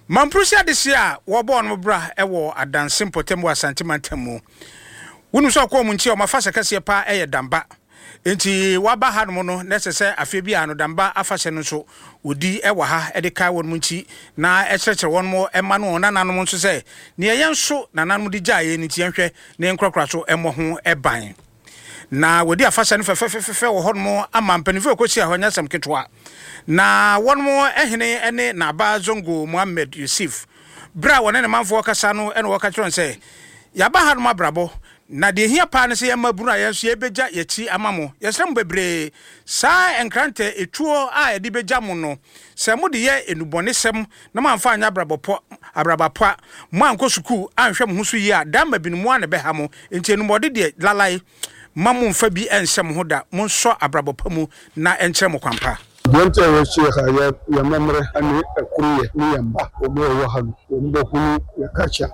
Mamprusi adehye a wɔbɔɔ no bra wɔ Adanse mpɔtam wɔ Asante mantam mu. Wonim sɛ ɔkɔɔ mu nti a wɔn afahyɛ kɛseɛ paa yɛ Damba. Enti wɔaba hanom no na ɛsɛ sɛ afeɛ biara no Damba afahyɛ no nso wɔdi wɔ ha de kae wɔn nti na ɛkyerɛkyerɛ wɔn mma ne wɔn nananom nso sɛ neɛ yɛn nso nananom de gyaa yɛn no nti yɛnhwɛ na yɛnkorakora so mmɔ ho ban. Na wɔdi afahyɛ no fɛfɛfɛfɛ wɔ hɔnom ama mpanimfoɔ a ɛkɔhyia hɔ nyɛ asɛm ketewa. Na wɔn hene ne Naaba Zongo Mohammed Yusuf. Berɛ a wɔne ne manfoɔ rekasa no na wɔka kyerɛ wɔn sɛ, Yɛaba hanom abrabɔ, na deɛ ɛhia paa ne sɛ yɛn mmabunu a yɛn nso yɛbɛgya yɛn akyi ama mo. Yɛsrɛ mo bebree, saa nkrantɛ etuo a yɛde bɛgya mo no, sɛ mode yɛ nnubɔnesɛm na moamfa anyɛ abrabɔ pɔ, abraba pa, moankɔ sukuu anhwɛ mo ho so yie a, daa mma binom mo ara na ɛbɛha mo. Enti anumɔde deɛ, lalai, mma mommfa bi nnhyɛ mo ho da, monsɔ abrabɔ pa mu na ɛnkyerɛ mo kwan pa. Deɛ nti a yɛhyia ha yɛ yɛn amammerɛ ne ɛkoroyɛ ne yɛn mma wɔn a wɔwɔ ha no wɔn bɛhunu yɛn culture,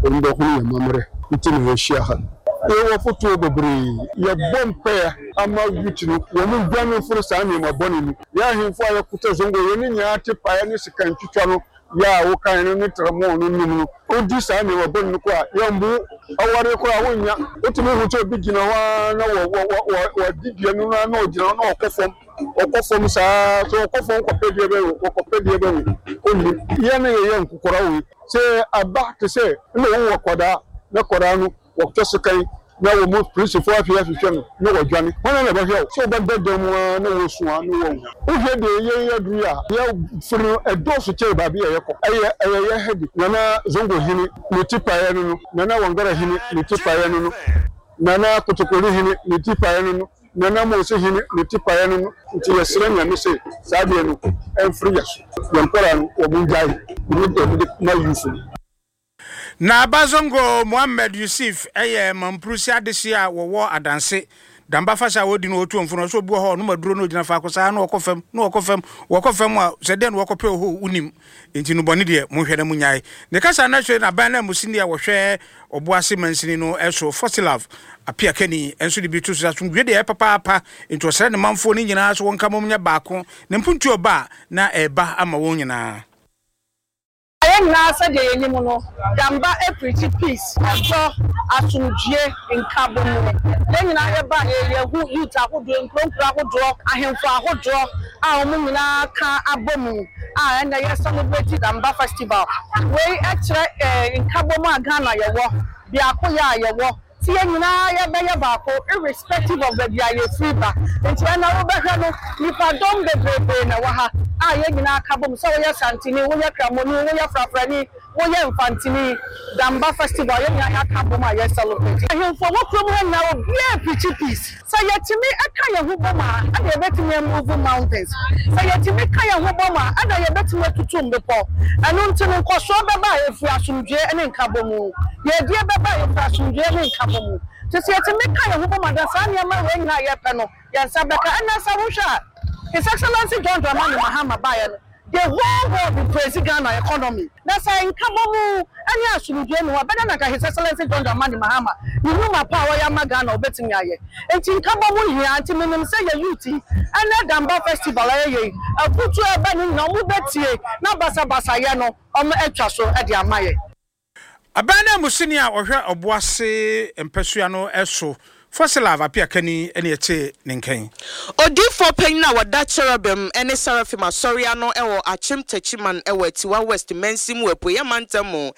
wɔn bɛhunu yɛn amammerɛ nti na yɛhyia ha no. Yɛwɔ afotuo bebree, yɛbɔ mpaeɛ ama youth no wɔn dwane mfiri saa nneɛma bɔne no. Yɛn ahemfo a yɛkuta zongo yɛn ne nyinaa te paeɛ ne sika ntwitwa no yɛ a wokae no ne tramɔɔ no nim no, wodi saa nneɛma bɔne no kɔ a, yɛmmu wo. Awareɛ koraa wonnya. Wotumi hu sɛ obi gyina hɔ ara na wɔ wɔ wɔ wɔ wadi dua no ara na ɔgyina hɔ na ɔkɔ fam, ɔkɔ fam saa ara. Sɛ ɔkɔ fam kɔpɛ deɛ bɛn o, ɔkɔpɛ deɛ bɛn o, ɔnnim. Yɛn na yɛyɛ nkokora wei. Sɛ aba te sɛ na ɔwɔ akwadaa na akwadaa no Wɔtɔ sekan na wɔn polisifo afei ahwehwɛ no na wɔadwane. Hwan na ɛbɛhwɛ wo? Sɛ wobɛda dan mu ara na woresu a na woawu. Wohwɛ deɛ yɛn aduru yi a, yɛn firi no ɛdɔɔso kyɛn baabi a yɛkɔ. Ɛyɛ ɛyɛ yɛn headache. Nana Zongo hene ne ti paeɛ no no, Nana Wangara hene ne ti paeɛ no no, Nana Kotokoli hene ne ti paeɛ no no, Nana Mose hene ne ti paeɛ no no. Nti yɛsrɛ Nyame sɛ saa adeɛ no ɛmfiri yɛn so. Yɛn nkwadaa no wɔn ngyae. Mede deɛ mede ma youth no. Na Bazongo Mohammed Yusuf yɛ Mamprusi adehye a wɔwɔ Adanse. Damba fahyɛ a wɔdi no wɔ Otuomfo no, ɔsɛ obi wɔ hɔ a ɔnom aduro na ogyina faako saa na ɔkɔ fam na ɔkɔ fam, wɔkɔ fam a sɛ dɛn na wɔkɔpɛ wɔ hɔ o, wonim. Enti nnubɔne deɛ monhwɛ na monnyae. Ne kasa no akyire no aban nanmusini a wɔhwɛ Ɔboase mansini no so, Fosilav Appiah Kani nso de bi to so sɛ asomdwoeɛ deɛ ɛyɛ papaapa, enti ɔsrɛ ne manfoɔ no nyinaa sɛ wɔnka mmom nyɛ baako na mpuntuo ba a na ɛreba ama wɔn nyinaa. Yɛn nyinaa sɛdeɛ yɛnim no, Damba preachi peace, ɔdɔ, asomdwie, nkabomu. Yɛn nyinaa yɛbaeɛ yi, yɛhu youth ahodoɔ, nkuro nkuro ahodoɔ, ahemfo ahodoɔ a wɔn nyinaa ka abɔ mu a ɛnnɛ yɛ celebrate Damba festival. Wei kyerɛ nkabomu a Ghana yɛwɔ, biakoyɛ a yɛwɔ. Nti yɛn nyinaa yɛbɛyɛ baako irrespective of baabi a yɛfiri ba. Nti ɛnnɛ wobɛhwɛ no nnipa dɔm bebrebee na ɛwɔ ha a yɛn nyinaa ka bom sɛ woyɛ Santini, woyɛ Kramoni, woyɛ Frafrani, woyɛ Mfantini, Damba festival yɛn nyinaa yɛaka abom a yɛ celebrate. Ahemfo a ɛwɔ kurom ha nyinaa obiara preachi peace. Sɛ yɛtumi ka yɛn ho bom a, ɛna yɛbɛtumi a move mountains. Sɛ yɛtumi ka yɛn ho bom a, ɛna yɛbɛtumi atutu mmepɔ. Ɛno nti no, nkɔsoɔ bɛba a ɛfiri asomdwoeɛ ne nkabɔmu. Yiedie bɛba a ɛfiri asomdwoeɛ ne nkabɔmu. Nti sɛ yɛtumi ka yɛn ho bom a, then saa nneɛma wei nyinaa a yɛpɛ no, yɛn nsa bɛka. Ɛnnɛ sɛ wohwɛ a, His Excellency John Dramani Mahama baeɛ no, The whole world will praise Ghana economy. Na sɛ nkabɔmu ne asomdwoe nni hɔ a, ɛbɛdɛn na anka His Excellency John Dramani Mahama ne nnwuma pa a ɔyɛ ama Ghana ɔbɛtumi ayɛ? Nti nkabɔmu hia. Nti menim sɛ yɛ youth yi, ɛnɛ Damba festival a yɛyɛ yi, afutuo a ɛba no nyinaa wɔbɛtie na basabasayɛ no wɔatwa so de ama yɛn. Aban nanmusini a ɔhwɛ Ɔboase mpasua no so, Fossilav Appiah Kani na yɛtee ne nka yi. Odiyifoɔ panyin a wɔda Cherubim ne Seraphim Asɔre ano wɔ Akyem Techiman wɔ Atiwa West Mansin mu wɔ Apueeɛ Mantam mu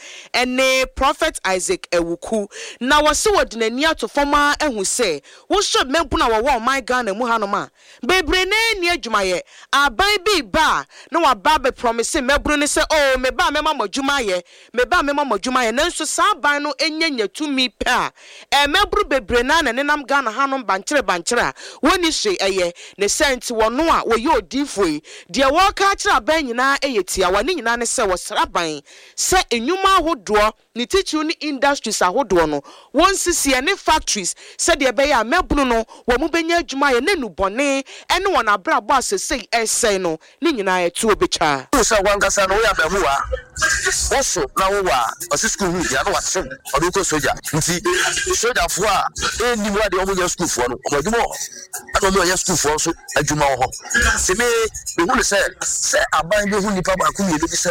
ne Prophet Isaac Awuku. Na wɔse wɔde n'ani ato fam ara ahu sɛ wohwɛ mmabunu a wɔwɔ ɔman Ghana mu hanom a, bebree no ara nni adwumayɛ. Aban bi reba a, na waba abɛprɔmese mmabunu no sɛ, Oh, meba a mɛma mo adwuma ayɛ, meba a mɛma mo adwuma ayɛ. Nanso saa aban no nya nya tumi pɛ a, mmabunu bebree no ara na ɛnenam Ghana hanom bankyere bankyere a wɔnni hwee yɛ. Ne saa nti, wɔn a wɔyɛ odiyifoɔ yi, deɛ wɔreka akyerɛ aban nyinaa yɛ tiawa. Ne nyinaa ne sɛ wɔsrɛ aban sɛ nnwuma ahodoɔ, ne titiriw ne industries ahodoɔ no, wɔnsisi ɛne factories sɛdeɛ ɛbɛyɛ a mmabunu no wɔn bɛnya adwuma ayɛ na nnubɔne ne wɔn abrabɔ a sesei ɛresɛe no ne nyinaa ɛtoɔ bɛtwa. Wohu sɛ w'ankasa no woyɛ abarimaa, woso na wowɔ a, ɔse sukuu ho hia na wakye wo, ɔde wo kɔ sogya. Nti sogyafoɔ a ɛnnim adeɛ wɔn nyɛ sukuufoɔ no, wɔn adwuma wɔ hɔ, ɛna wɔn a wɔyɛ sukuufoɔ nso adwuma wɔ hɔ. Nti me, mehu no sɛ, sɛ aban bɛhu nnipa baako mmienu bi sɛ.